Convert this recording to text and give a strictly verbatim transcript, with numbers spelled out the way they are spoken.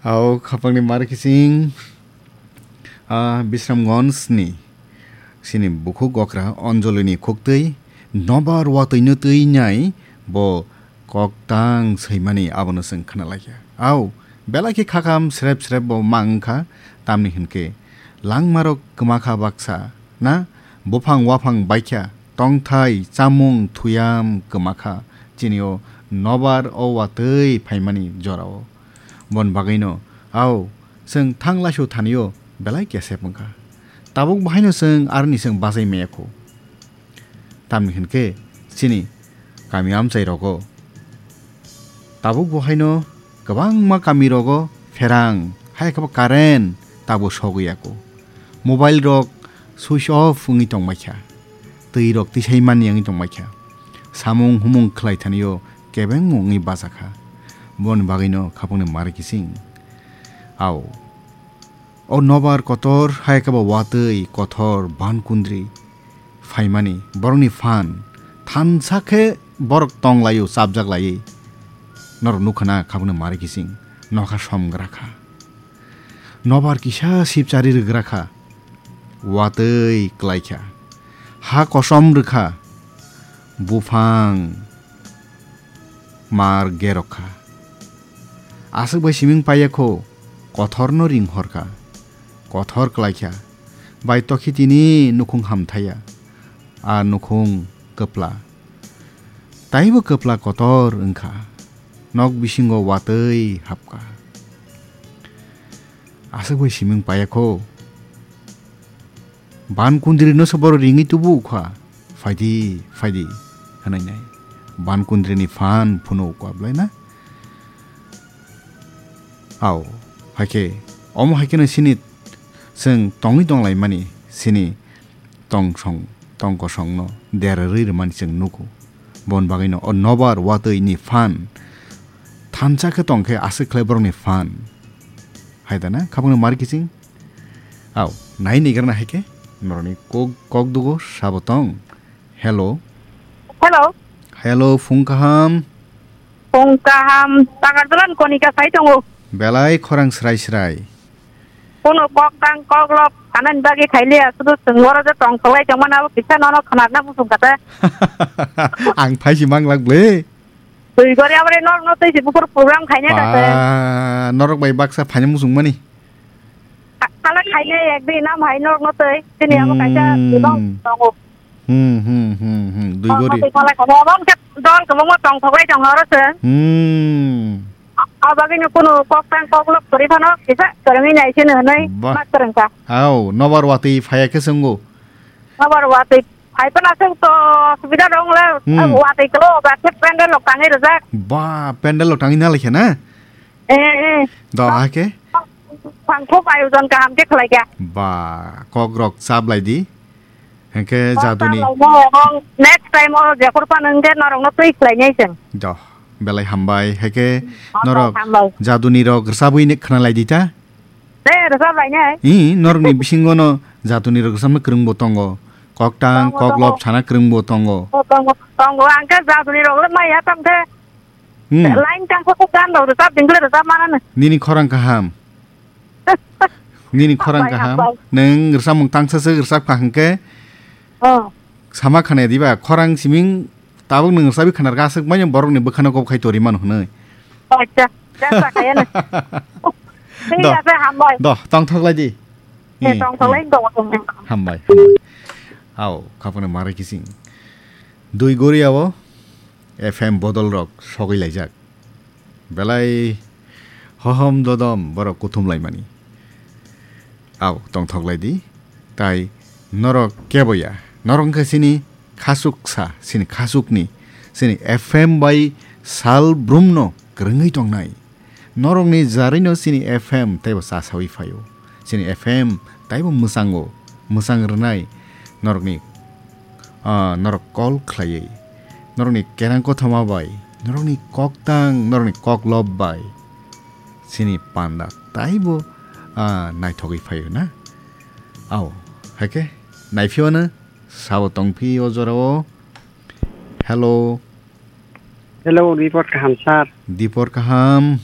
Au khapangni mar kising, ah, Bisramganj ni sini bukhuk okra Anjali ni khuktwi nobar watwi no twi nai bo kok tang swi mani abono chwng khna lai kha. Au, belai khe khakam srep srep bo ma wng kha, tamni hwn khe langma rok kwma kha baksa na, buphang waphang bai kha, tongthai, chamung, thuyam kwma kha chini o nobar o watwi phaimani jora o. Boni bagwi no, au, chwng thang laisu thani o belai kesep wng kha. Tabuk bo haino chwng aroni chwng bachai maya kho. Tamni hwn khe chini kami amchai rogo tabuk bo haino kwbangma kami rogo pherang, hai khe bo current tabuk sogwi ya kho. Mobile rok switch off wngwi tong bai kha, twi rok tisai mani wngwi tong bai kha, samung humung khlai thani o kebengma wngwi bacha kha. Boni bagwi no khapang ni mar kising. Au. O nobar kotor hai khe bo watwi kothor ban kundri phaimani borokni phan thansa khe borok tong lai o chapjak laiwi. Norok nukha na khapang ni mar kising nokha som gra kha. Nobar kisa sipchari rwgra kha. Watwi klai kha. Ha kosom rwkha. Buphang mar gerok kha. Aswk bai siming paiya kho, kothorno ring hor kha. Kothor klai kha. Bai tokhi tini nukhung hamthaya. A nukhung kwpla. Taibo kwpla kotor wng kha. Nok bisingo watwi hap kha. Aswk bai siming paiya kho. Ban kundri no se borok ringwi tubu ukha. Phaidi, phaidi, hwnwi nai. Ban kundri ni phan phunu ukha, belai na? Au, hai khe, omo hai kheno sini chwng tongwi tong lai mani, sini tong song, tong kosong no derarwi rwmani chwng nugo. Bon bagwi no o nobar watwi ni phan thansa khe tong khe aswk khlai borok ni phan. Hai da na, khapang no mari kiching. Au, nai ni gra na hai khe, norok ni kok, kok dugo sabo tong. Hello. Hello. Hello, phung kaham. Phung kaham, Takarjala ni Konika sai tongo. Belai khorang srai srai. Kuno kok tang kok lok sanani bagwi khailiya, sudu chwng oro je tong tholai tongmani abo kisa nono khwnarna muchung kha ta. Ang phai si manglak ble. Twi gori aboni norok no twi si bukur program khaina kha se. Ba, norok bai baksa phaina muchung mani. Kha-, khala khaina ek din nam hai norok no twi. Tini abo kaisa Hmm. Dibang tongo. Hmm, hmm, hmm, hmm. Dwi gori. Norok no twi khala khaina abo khe dol kwbangma tong thoklai tongo oro se. Hmm. A-, abagwino kunu kok tang kok lok kwrwi phano kisa kwrwngwi nai sino hwnwi Ba. Ma kwrwngkha. Au, nobar watwi phaiya khe chwngo. Nobar watwi phai phano chwng to subida dong le, Hmm. Watwi klo ba khe pendel lok tangwi rwjak. Ba, pendel lok tangwi na laikha na? Eh, eh. Do ha khe? Phang thok ayojon kaham khe khlai kha. Ba, kok rok chap lai di. Hengkhe jaduni. Next time o jephor phano hwnkhe norokno twi khlainai chwng. Doh, belai hambai. Hengkhe norok jaduni rok rwchabwi khna lai di ta? Tei rwchap lainai. Ih, norokni bisingo no jaduni rok rwchapna kwrwng bo tongo. Koktang, koklop sana kwrwng bo tongo. Tongo, tongo. Ang khe jaduni rok le maya tong khe. Hmm. Line tang khe gan rok rwchap ding khe rwchap manani. Nini khorang kaham. Nini khorang kaham. Nwng rwchapmung tangsa se rwchap kha hwnkhe. Oh. Sama khana diba khorang siming tabuk nwng rwchapwi khana rwkha aswk manya borokni bwkhano kok khai tori mano hwnwi. Acha, jasa kaya na. Thik ase, hambai. Doh, tongthok lai di. Tongthok lai, doh. Hambai, hambai. Au, khapano marai kising. Dui gori abo. F M bodol rok sogwi laijak. Belai hohom dodom borok kuthum laimani. Au tongthok lai di. Tai norok kebo ya. Norok wngkha sini khasuk sa, sini khasuk ni, sini F M bai sal brum no kwrwngwi tongnai. Norokni jarino chini F M teibo chasawi phaio. Chini F M taibo mwchango, mwchang rwnai norokni, ah, norok call khlaiwi, norokni kerang kothoma bai, norokni koktang, norokni koklop bai chini panda taibo, ah, naithogwi phaio na. Ao, haikhe naiphiyano sabo tongphi o jorao. Hello. Hello, report kaham, sir. Dipor kaham.